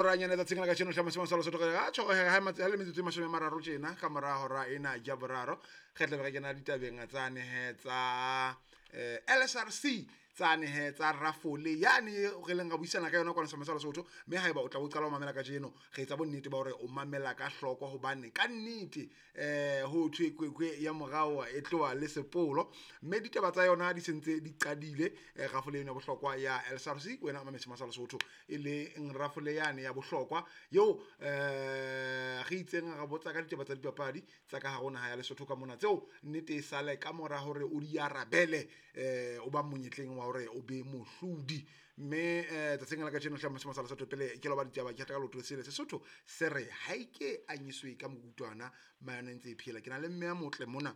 Ranyane tsatsing la kajeno hlama sema sa Lesotho ga tjho ha matse le metsotso e 30 tjena ka mora hora ena ya boraro re tla be re kena ditabeng tsane he tsa LSRC tsane he tsa rafole yane re leng ra buisana ka yona kwana sema sa Lesotho. Mme haeba o tla o qala ho mamela kajeno, re etsa bonnete ba hore o mamela ka hloko, hobane ka nnete ho thwe kwekwe ya morao e tloha le sepolo, mme ditaba tsa yona di sentse di qadile. Rafole eno ya bohlokwa ya LSRC, wena mametse sa Lesotho, e leng rafole yane ya bohlokwa eo re itseng re botsa ka ditaba tsa dipapadi tsa ka hare ho naha ya Lesotho ka mona, tseo nnete e sale ka mora hore o di arabele, o ba monyetleng wa hore o be mohlodi. Mme tsatsing la kajeno hlama sa Lesotho, pele ke loba ditaba, ke ka leoto sele Sesotho se re ha ike anyiswe ka mokutwana mayone ntse e phela. Ke na le mme a motle mona,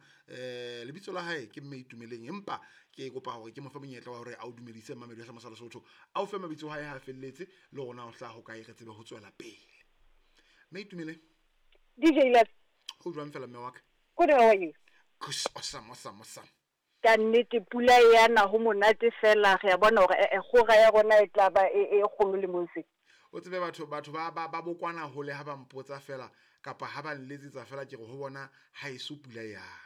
lebitso la hae ke mme Itumeleng, empa ke kopa hore ke mo fe monyetla wa hore a o dumedise mmamedi wa sa Lesotho, a o fe mabitso a hae ha felletse le rona o hlaha ho kae, re tsebe ho tswela pele. Mme Itumeleng, DJ Les, ho jwang fela mme wa ka? Good, how are you? Awesome, awesome, awesome. Ka nnete pula e yana, ho monate fela, re a bona hore kgora ya rona e tla ba e kgolo le mose. O tsebe batho ba bokwana hole ha ba mpotsa fela kapa ha ba nletsetsa fela, ke re ho bona ha eso pula yana.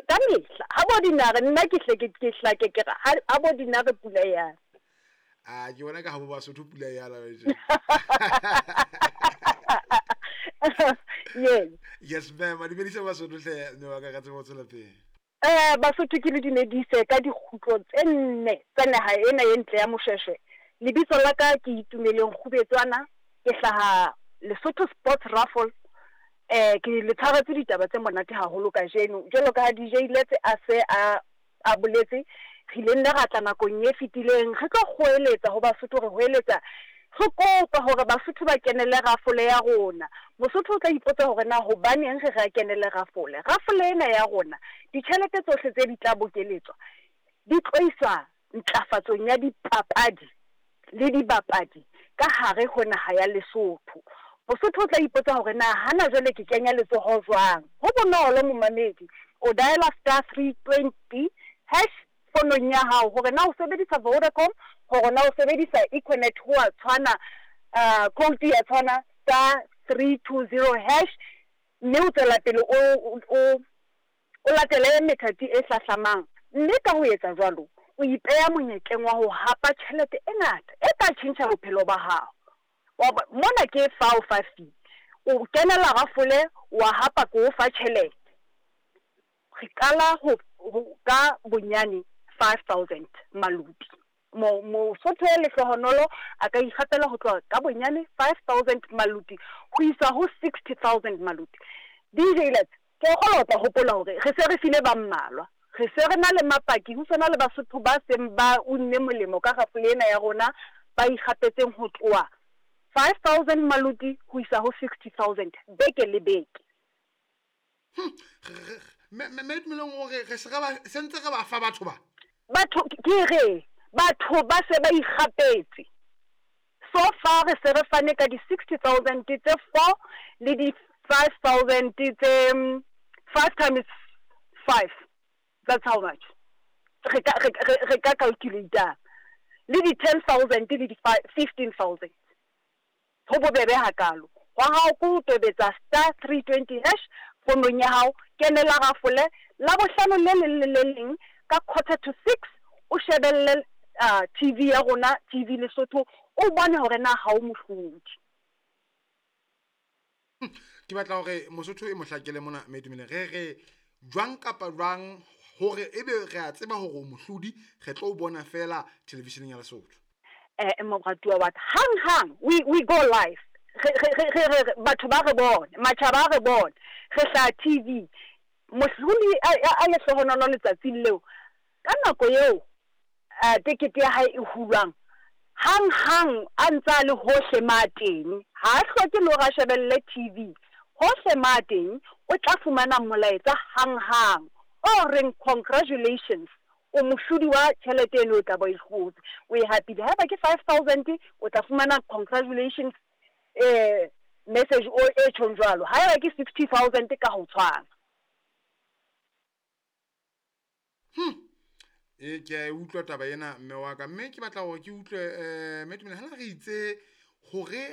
Ka mehla ha bo dinare nna ke hle ke hlake ke re ha bo dinare pula yana. A ke bona ka ha bo Basotho pula yana. Yes. Yes ma'am, a dumedisa Basotho hle mme wa ka, ka tsebe ho tswela pele. Basotho ke le dumedise ka dikgutlo tse nne tsa naha ena e ntle ya Moshweshwe. Lebitso la ka ke Itumeleng Kgubetswana, ke hlaha Lesotho Sports Raffle. Ke le tshwaretse ditaba tse monate haholo kajeno. Jwalo ka ha DJ Letse a se a boletse, re ile nne ra tla nakong e fetileng re tlo kgoeletsa ho Basotho, re hoeletsa re kopa hore Basotho ba kenele rafole ya rona. Mosotho o tla ipotsa hore na hobaneng re re kenele rafole. Rafole ena ya rona, ditjhelete tsohle tse di tla bokeletswa di tlo iswa ntlafatsong ya dipapadi le dibapadi ka hare ho naha ya Lesotho. Mosotho o tla ipotsa hore na hana jwale ke kenya letsoho jwang. Ho bonolo momamedi, o diala *320# fonong ya hao, hore na o sebedisa Vodacom, hore na o sebedisa Econet, ho a tshwana, code ya tshwana *320#, mme o tswela pele o latele methati e hlahlamang. Mme ka ho etsa jwalo, o ipeha monyetleng wa ho hapa tjhelete e ngata e ka tjhentjha bophelo ba hao. Mona ke fa o fa fee, o kenela rafole wa hapa ko o fa tjhelete. Re qala ho ka bonyane 5,000 maluti. Mosotho ya lehlohonolo a ka ikgapela ho tloha ka bonyane 5,000 maluti ho isa ho 60,000 maluti. DJ Lets, ke kgolwa o tla hopola hore re se re file ba mmalwa, re se re na le mapaki, ho sona le Basotho ba seng ba unne molemo ka rafole ena ya rona, ba ikgapetseng ho tloha 5,000 maluti ho isa ho 60,000 beke le beke. Mme Tumelong, o re se re ba sentse re ba fa batho ba? Batho ke re batho ba se ba ikgapetse. So far re se re fane ka di 60,000 tse 4 le di 5,000 tse 5 times 5. That's how much. Re ka calculate le di 10,000 le di 15,000. Ho bobebe hakalo. Wa hao ko tobetsa *320# fonong ya hao, kenela rafole la bohlano le leng le le leng ka 5:45, o shebelle TV ya rona, TV Lesotho, o bone hore na ha o mohlodi. Ke batla hore Mosotho e mohlakele mona mme Itumeleng, re re jwang kapa jwang hore ebe re a tseba hore o mohlodi, re tlo o bona fela televisioneng ya Lesotho. Moratuwa wa ka, hang hang we go live. Re batho ba re bone, matjhaba a re bone, re hlaha TV. Mohlodi a lehlohonolo letsatsing leo, ka nako eo tekete ya hae e hulwang, hang hang a ntsa le hohle ma teng, ha a hloke le hore a shebelle TV, hohle ma teng o tla fumana molaetsa hang hang o reng congratulations, o mohlodi wa tjhelete eno o tla ba e hlotse, o e hapile. Haeba ke 5,000 o tla fumana congratulations message o e tjhong jwalo. Haeba ke 60,000 ka ho tshwana. Ke a e utlwa taba ena mme wa ka, mme ke batla hore ke utlwe mme Tumelo, hana re itse hore